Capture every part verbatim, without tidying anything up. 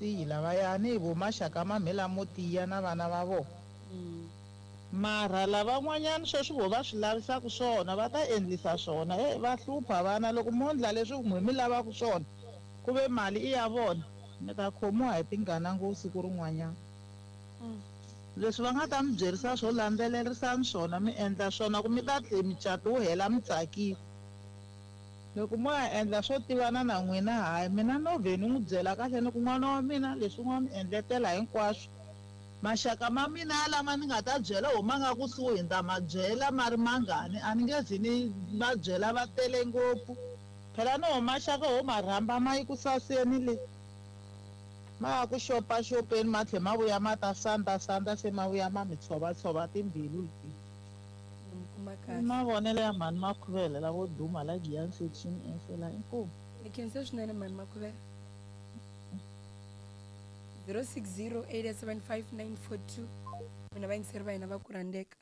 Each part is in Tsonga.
Siyi lavayani hi vo maxaka ma me lamo tiya na vana va vona. Mara lavan'wanyana sweswi vo va swi lavisaka swona va ta endlisa swona. E va hlupha vana loko mo ndla leswi n'we mi lavaka swona ku ve mali i ya vona mi ta khomiwa hi tingana ngopfu siku rin'wanyana. Leswi va nga ta mi byerisa swo landzelerisani swona mi endla swona ku mi ta tlhe micato wu hela mi tsakile. Loko mo ya endla swo tivana na n'wina hayi mina no vhe ni n'wi byela kahle ni ku n'wana wa mina leswi n'wa mi endletela hinkwaswo. Maxaka ma mina lama ni nga ta byela ho ma nga kusuhi ni ta ma byela ma ri mangani a ni nge zi ni va byela va tele ngopfu. Phela no ho maxaka ho ma rhamba ma yi ku saseni le. Ma ya ku xopaxopeni ma tlhe ma vuya ma ta sandza sandza se ma vuya ma mi tshovatshova timbilu leti. Mi kuma kahle. Mavonelo ya mhani Makhuvele lavo duma la Giyani section F la inkomu. Ni khensa swinene mhani Makhuvele. zero six zero eight seven five nine four two mina vayingiseri va hina va ku rhandzeka.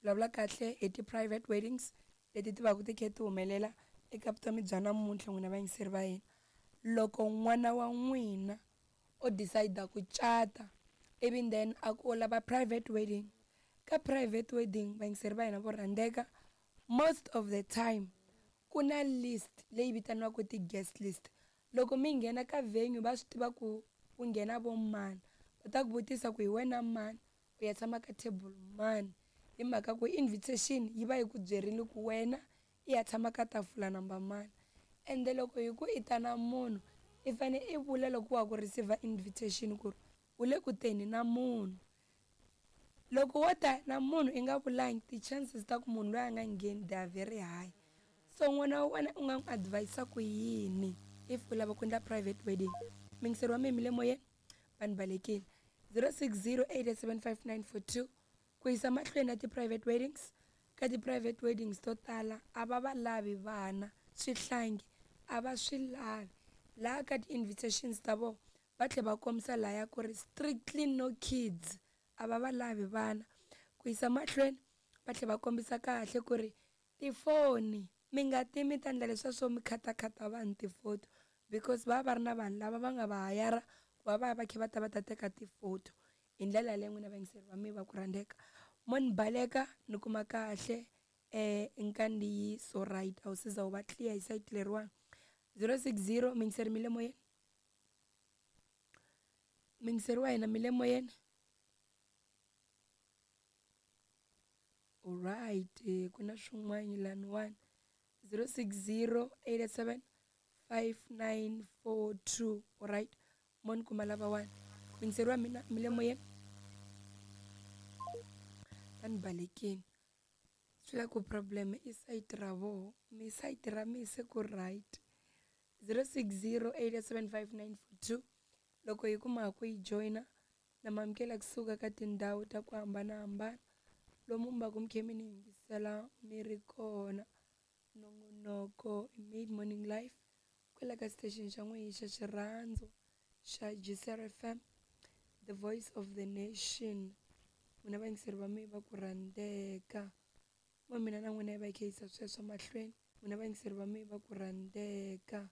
Vulavula kahle hi ti-private weddings leti ti va ku ti kha ti humelela eka vutomi bya namuntlha n'wina vayingiseri va hina. Loko n'wana wa n'wina o decide ku cata ivi then a ku u lava private wedding, ka private wedding vayingiseri va hina vo rhandzeka, most of the time ku na list leyi vitaniwaka ti-guest list. Loko mi nghena ka venue va swi tiva ku ku nghena vo mani, va ta ku vutisa ku hi wena mani, u ya tshama ka table mani, hi mhaka ku invitation yi va yi ku byerile ku wena i ya tshama ka tafula number mani. Ende loko hi ku i ta na munhu i fane i vula loko wa ku receive invitation ku ri u le ku teni na munhu. Loko wo ta na munhu i nga vulangi, ti-chances ta ku munhu loyi a nga ngheni they are very high. So n'wana wa wena u nga n'wi advise ku yini if u lava ku endla private wedding? Muyingiseri wa mina mi le moyeni, vanhu balekile. zero six zero eight seven five nine four two ku yisa mahlweni na ti-private weddings. Ka ti-private weddings to tala a va va lavi vana, swihlangi a va swi lavi. Laha ka ti-invitations ta vona va tlhela va kombisa lahaya ku ri strictly no kids, a va va lavi vana. Ku yisa mahlweni va tlhela va kombisa kahle ku ri tifoni mi nga ti mi ta endla leswiya swo mi khatakhata vanhu tifoto, because va va ri na vanhu lava va nga va hayara ku va va ya va kha va ta va ta teka tifoto. Hi ndlela yaleyo n'wina vayingiseri va mina va ku rhandzeka, mo ni baleka ni kuma kahle eh nkandziyiso right a wu se za wu va clear hi sayiti leriwani. zero six zero muyingiseri mi le moyeni, muyingiseri wa hina mi le moyeni. Alright, ku na swin'wana laniwani. zero six zero eight seven five nine four two. Alright, mo ni kuma lavawani. Muyingiseri wa mina mi le moyeni, va ni balekile. Swi la ku problem i sayiti ra voho, mi sayiti ra mi se ku right. zero six zero eight seven five nine four two loko hi kuma ku yi joyina na mamukela kusuka ka tindhawu ta ku hambanahambana lomu mi va ku mi kha mi ni yingisela mi ri kona. Nongonoko Mid Morning Life kwala ka station xa n'wehe xa xirhandzu xa G C R F M, the voice of the nation. N'wina vayingiseri va mina va ku rhandzeka, mo mina na n'wina hi va hi kha hi yisa sweswo mahlweni. N'wina vayingiseri va mina va ku rhandzeka,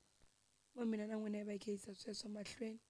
mo mina na n'wina hi va hi kha hi yisa sweswo mahlweni.